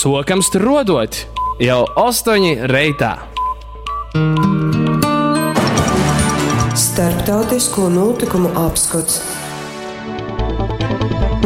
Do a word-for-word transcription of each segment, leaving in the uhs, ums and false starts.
Sokam struodot jau ostoņi reitā. Starptautisko notikumu apskots.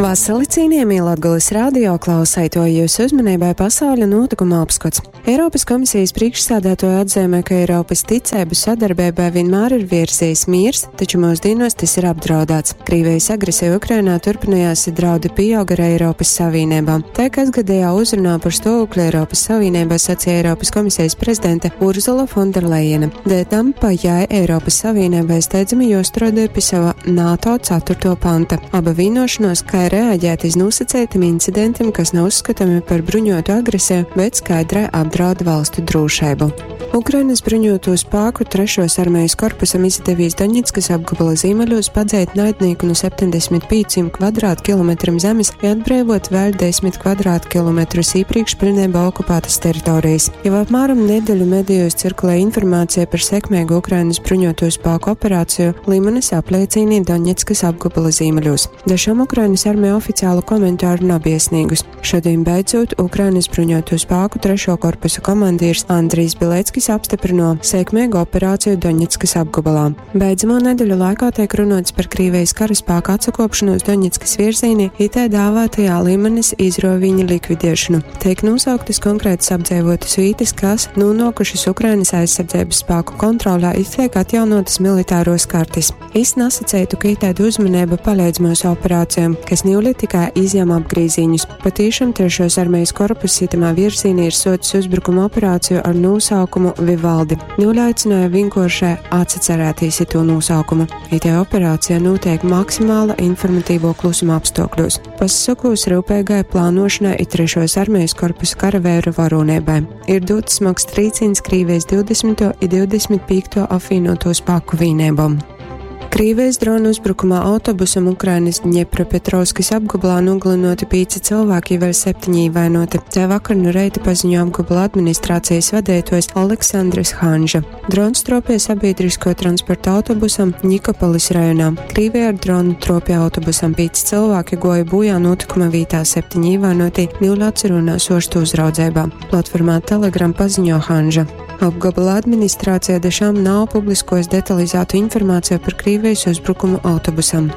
Vasali cienījamie Latgales radio klausētoji, jūsu uzmanībai pasauļa notikuma apskats. Eiropas komisijas priekšsādātoja atzīmē, ka Eiropas ticēbu sadarbībai vienmēr ir virzījis miers, taču mūsdienos tas ir apdraudēts. Krievijas agresija Ukrainā turpinājās, draudi pieauga ar Eiropas Savienībā. Tā kasgadējā uzrunā par stāvokli Eiropas Savienībā sacīja Eiropas komisijas prezidente Urzula Fonderlejena. Dēļ tam pa jai Eiropas Savienībai steidzami jāstrādā pie sava NATO ceturto panta. Aba vienošanos, kā reaģēt iz nosacītiem incidentiem, kas nav uzskatāmi par bruņotu agresiju, bet skaidrai apdraud valstu drošību. Ukrainas bruņoto spēku trešos armijas korpusam izdevies Doņetskas apgabala ziemeļos padzēt naidnieku no septiņdesmit pieciem kvadrātkilometriem zemes i atbrīvot vēl desmit kvadrātkilometrus iepriekš pilnībā okupētas teritorijas. Jau apmēram nedēļu medijos cirkulē informācija par sekmīgu Ukrainas bruņoto spēku operāciju Limanas apliecīnī Doņetskas apgabala ziemeļos. Dažam Ukrainas armija oficiālu komentāru nav iesniegus. Šodien beidzot Ukrainas bruņoto spēku trešo korpusu komandieris Andrijs Bileckis apstiprino sekmīgu operāciju Doņetskas apgabalā. Beidzamo nedēļu laikā tiek runots par Krievijas karaspēku atsakopšanos Doņetskas virzienī, itē dāvātajā Limanas izroviņa likvidēšanu. Tiek nosauktas konkrētas apdzīvotas vietas, kas nonākušas Ukrainas aizsardzības spēku kontrolā, it tiek atjaunotas militāros kartes. Es nesacētu, ka itēda uzmanība palīdz mūsu operācijām, kas niuli tikai izņem apgrīziņus. Patīšām trešos armijas korpus itamā virzienī ir socis uzbrukuma operāciju ar nosaukumu Vivaldi. Niuli aicināja vienkārši atcerēties to nosaukumu. Itē operācija notiek maksimāla informatīvo klusuma apstākļos. Pasakos rūpīgai plānošanai i trešos armijas korpusa karavēru varonībai. Ir dots smags trīciens Krievijas divdesmito i divdesmit piekto apvienoto spēku vienībām. Krievijas dronu uzbrukumā autobusam Ukrainas Dņepropetrovskas apgabalā nogalinoti pieci cilvēki, vēl septiņi ievainoti. Tā vakar no reita paziņo apgabala administrācijas vadītājs Aleksandrs Hanža. Drons tropīja sabiedrisko transporta autobusam Nikopolis rajonā. Krievija ar dronu tropīja autobusam pieci cilvēki goja bojā notikuma vietā, septiņi ievainoti niul atcerunās ostu uzraudzībā. Platformā Telegram paziņo Hanža. Apgabala administrācija dažām nav publiskojis detalizētu informāciju par Krievijas uzbrukumu autobusam.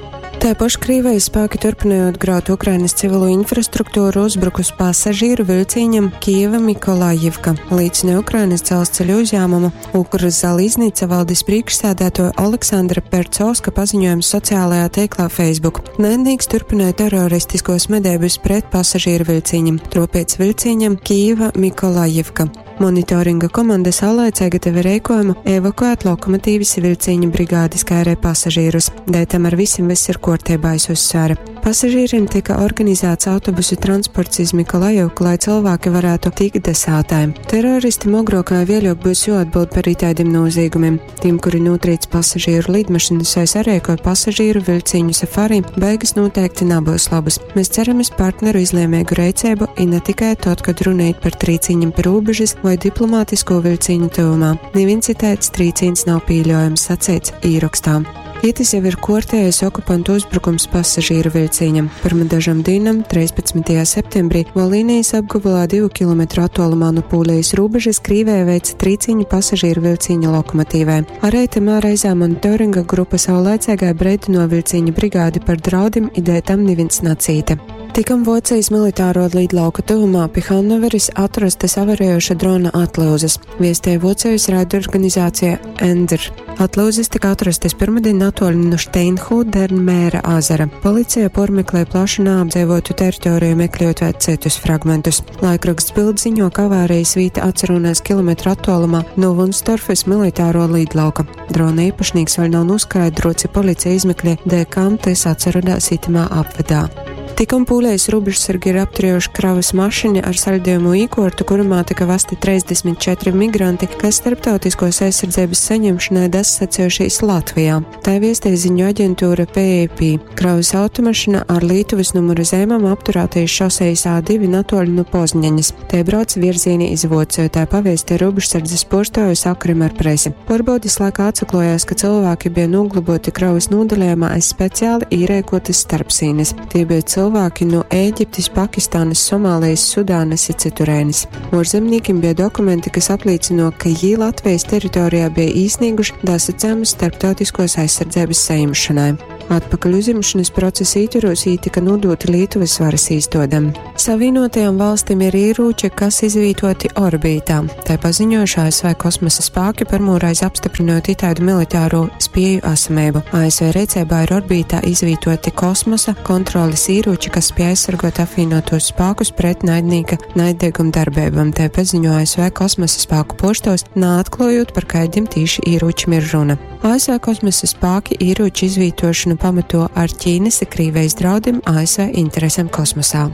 Taipoš Krievijas spēki turpinājot graut Ukrainas civilo infrastruktūru uzbrukus pasažīru vilciņam Kieva Mikolajivka. Līdzina Ukrainas dzelzceļu uzņēmumu Ukrzaliznica valdes priekšsēdētoja Aleksandra Percovska paziņojums sociālajā tīklā Facebook. Naidnieks turpināja teroristiskos medības pret pasažīru vilciņam, tropiec vilciņam Kieva Mikolajivka. Monitoringa komanda saulaicēga teva reikojumu evakuēt lokomotīvis vilciņa brigādes kā arī pasažīrus. Dēļ tam ar visiem viss ir kārtībā, es uzsvēru. Pasažīriem tika organizēts autobusu transports iz Mikolajivku, lai cilvēki varētu tikt desātājiem. Teroristi mogrokā vēļok būs jāatbild par itādiem noziegumiem. Tiem, kuri notrīc pasažīru lidmašīnas vai sarēkoja pasažīru vilciņu safari, beigas noteikti nebūs labas. Mēs ceram uz partneru izlēmīgu rīcību, i ne tikai tad, kad runājot par trīciņiem pie robežas vai diplomātisko vilciņu tuvumā. Neviens citēts trīciņs nav pieļaujams, sacīts īrakstā. Itis jau ir kortējais okupantu uzbrukums pasažīru vilciņam. Pirma dažam dīnam, trīspadsmitajā septembrī, Volīnijas apgabalā divu kilometru attālumā no Pūlijas robežas Krīvē veica trīciņu pasažīru vilciņa lokomotīvē. Arī tamā reizē monitoringa grupa saulēcīgai breidino vilciņa brigādi par draudim, ideja tam neviens nacīta. Tikam Vocijas militāro lidlauka tuvumā pie Hannoveres atrastas avarējoša drona atlūzas, viestēja Vocijas raidorganizācija Ender. Atlūzas tika atrastas pirmdien natoļi no Steinhudermēra ezera. Policija pormeklē plašu neapdzīvotu teritoriju, meklējot vēl citus fragmentus. Laikraksts Bild ziņo, ka avārijas vieta atcerunās kilometru attālumā no Wunstorfes militāro lidlauka. Drona īpašnieks vēl nav noskaidrots, ja policija izmeklē, dēļ kam tas atcerunās itamā apvedā. Tikam pūlējas robežsargi ir apturējuši kravas mašīnu ar saļdījumu īkortu, kurumā tika vesti trīsdesmit četri migranti, kas starptautiskos aizsardzības saņemšanai dasacējušies Latvijā. Tā viestē ziņu aģentūra P A P. Kravas automašīna ar Lietuvas numuru zīmēm apturētais šosejas A divi natoļi no Pozņaņas. Te brauc virzienī iz Vociju, tā pavēstīja robežsardzes porstoju sakarim ar presi. Pārbaudes laikā atsaklojās, ka cilvēki bija noglaboti kravas nodalījumā aiz speciāli īrēkotas starpsīnes. Tie bija cilvēki, cylvāki nu Ēģiptis, Pakistānas, Somālijas, Sudānas i cyturēnis. Uorzemnīkim bija dokumenti, kas aplīcyno, ka jī Latvijas teritorijā bija īsnīguši dasacējumus starptautiskos aizsardzības sajimšanai. Atpakaļ uzņemšanas procesa ītvaros jī tika nodoti Lītuvas varas īstodem. Savienotajām valstīm ir ierūči, kas izvītoti orbītā. Tai paziņojuši A S V kosmosa spāki, pirmoreiz apstiprinot itādu militāro spieju esamību. A S V rīcībā ir orbītā izvītoti kosmosa kontroles ieroči, kas spēj aizsargot apvienotos spēkus pret naidnīka naiddeguma darbībām. Tai paziņo A S V kosmosa spēku poštos, naatklājot, par kādiem tīši ieročiem ir runa. A S V kosmosa spēki ieroču izvītošanu pamato ar Ķīnas i Krīvijas draudiem A S V interesēm kosmosā.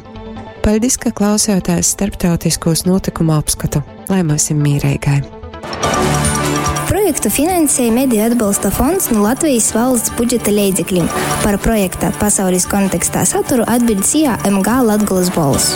Paldies, ka klausījāties starptautiskos notikumu apskatu. Lai mēs esam mīrīgai! Projektu finansēja Mediju atbalsta fonds no Latvijas valsts budžeta leidzekļiem. Par projekta pasaules kontekstā saturu atbild SIA M G Latgolas Bolss.